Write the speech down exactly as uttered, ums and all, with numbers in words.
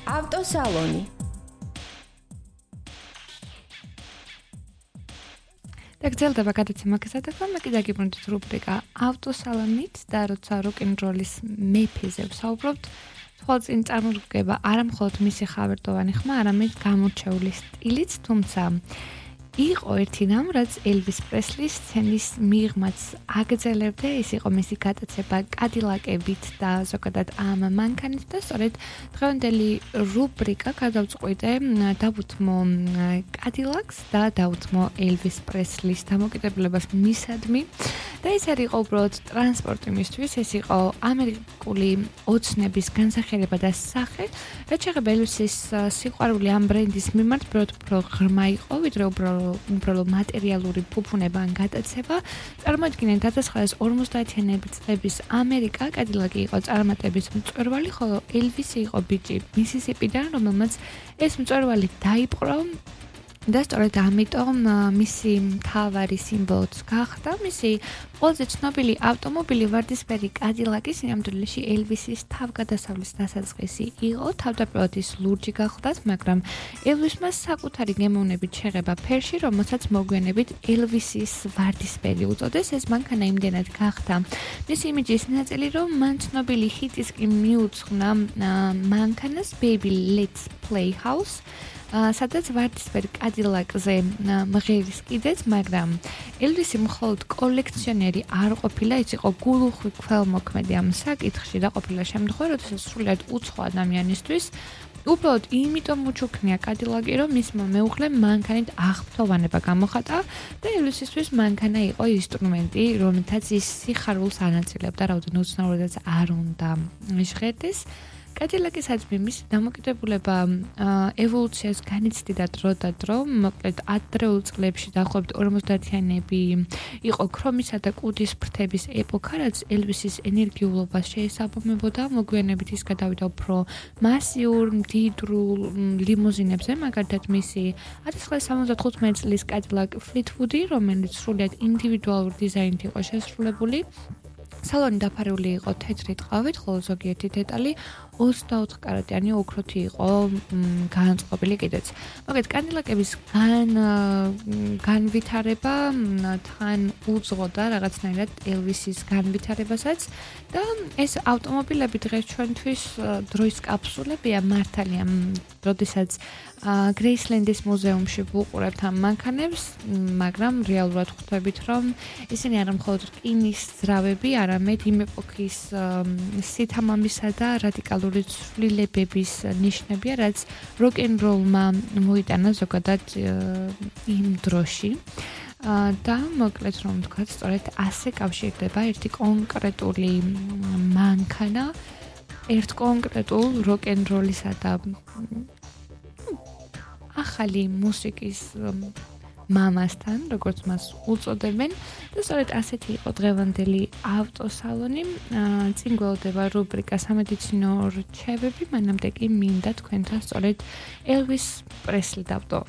ავტოსალონი. და გრძელდება გადაცემა გასატეხვა, მე კიდე გიბრუნდით რუბრიკა ავტოსალონით და როცა როკ-ენ-როლის მეფეზე ვსაუბრობთ, თვალწინ წარმოგდგება არა მხოლოდ მისი ხავერდოვანი ხმა, არამედ გამორჩეული სტილიც, თუმცა იყო ერთი რამ, რაც ელვის პრესლის სცენის მიღმაც აგრძელებდა, ის იყო მისი გატაცება კადილაკებით და ზოგადად ამ მანქანით და სწორედ დღევანდელი რუბრიკა გადავწყვიტე დავუთმო კადილაკს და დავუთმო ელვის პრესლის დამოკიდებულებას მისადმი და ეს არ იყო უბრალოდ ტრანსპორტი მისთვის, ეს იყო ამერიკული ოცნების განსახილება და სახე, რაც შეეხება ელვისის სიყვარული ამ ბრენდის მიმართ უფრო ღრმა იყო, ვიდრე უბრალოდ უბრალოდ მატერიალური ფუფუნება ან გატაცება. წარმოიდგინეთ one thousand forty-იანი წლების ამერიკა, კადილაკი იყო წარმატების მწვერვალი, ხოლო ელვისი იყო ბიჭი მისისიპიდან, რომელმაც ეს მწვერვალი დაიპყრო და სწორედ ამიტომ მისი მთავარი სიმბოლოც გახდა მისი ყველაზე ცნობილი ავტომობილი ვარდისფერი კადილაკი, სინამდვილეში ელვისის თავგადასავლის დასაწყისი იყო. თავდაპირველად ის ლურჯი გახლდათ, მაგრამ ელვისმა საკუთარი გემოვნებით შეღება ფერში, რომელსაც მოგვიანებით ელვისის ვარდისფერი უწოდეს. ეს მანქანა იმდენად გახდა მისი იმიჯის ნაწილი, რომ მან ცნობილი ჰიტის კი მიუძღვნა მანქანას Baby Let's Play House, სადაც ვარდისფერ კადილაკზე მღერის კიდეც, მაგრამ ელვისი მხოლოდ კოლექციონერი არ ყოფილა, ის იყო გულუხვი ქველმოქმედი ამ საკითხში და ყოფილა შემთხვევა, როდესაც სრულიად უცხო ადამიანისთვის უბრალოდ იმიტომ უჩუქნია კადილაკი, რომ მისმა მეუღლემ მანქანით აღფრთოვანება გამოხატა და ელვისისთვის მანქანა იყო ინსტრუმენტი, რომელთაც ის სიხარულს ანაწილებდა, რაოდენობით უცნაურადაც არ უნდა ჟღერდეს. კადილაკისაც მისი დამოკიდებულება ევოლუციას განიცდიდა დრო და დრო, მოკლედ ადრეულ წლებში დაახლოებით ორმოცდაათიანები იყო ქრომისა და კუდის ფრთების ეპოქა, რაც ელვისის ენერგიულობას შეესაბამებოდა, მოგვიანებით ის გადავიდა უფრო მასიურ, მდიდრულ ლიმუზინებზე, მაგალითად მისი one thousand nine hundred seventy-five წლის კადილაკ ფლიტვუდი, რომელიც სრულიად ინდივიდუალური დიზაინით იყო შესრულებული. სალონი დაფარული იყო თეთრი ტყავით, ხოლო ზოგიერთი დეტალი ოცდაოთხ კარატიანი ოქროთი იყო განწყობილი კიდეც. მოკლედ კადილაკების გან განვითარება თან უძღოდა რაღაცნაირად ელვისის განვითარებასაც და ეს ავტომობილები დღეს ჩვენთვის დროის კაფსულებია, მართალია, როდესაც გრეისლენდის მუზეუმში ვუყურებთ ამ მანქანებს, მაგრამ რეალურად ხვდებით, რომ ისინი არა მხოლოდ რკინის ძრავები, არამედ იმ ეპოქის სითამამისა და რადიკალური ცვლილებების ნიშნებია, რაც როკ-ენ-როლმა მოიტანა ზოგადად იმ დროში. და მოკლედ რომ ვთქვათ, სწორედ ასე კავშირდება ერთი კონკრეტული მანქანა ერთ კონკრეტულ როკ-ენ-როლისა და ახალი მუსიკის მამასთან, როგორც მას უწოდებენ და სწორედ ასეთი იყო დღევანდელი ავტოსალონი. წინ გველოდება რუბრიკა სამედიცინო რჩევები, მანამდე კი მინდა თქვენთან სწორედ ელვის პრესლი დავტოვო.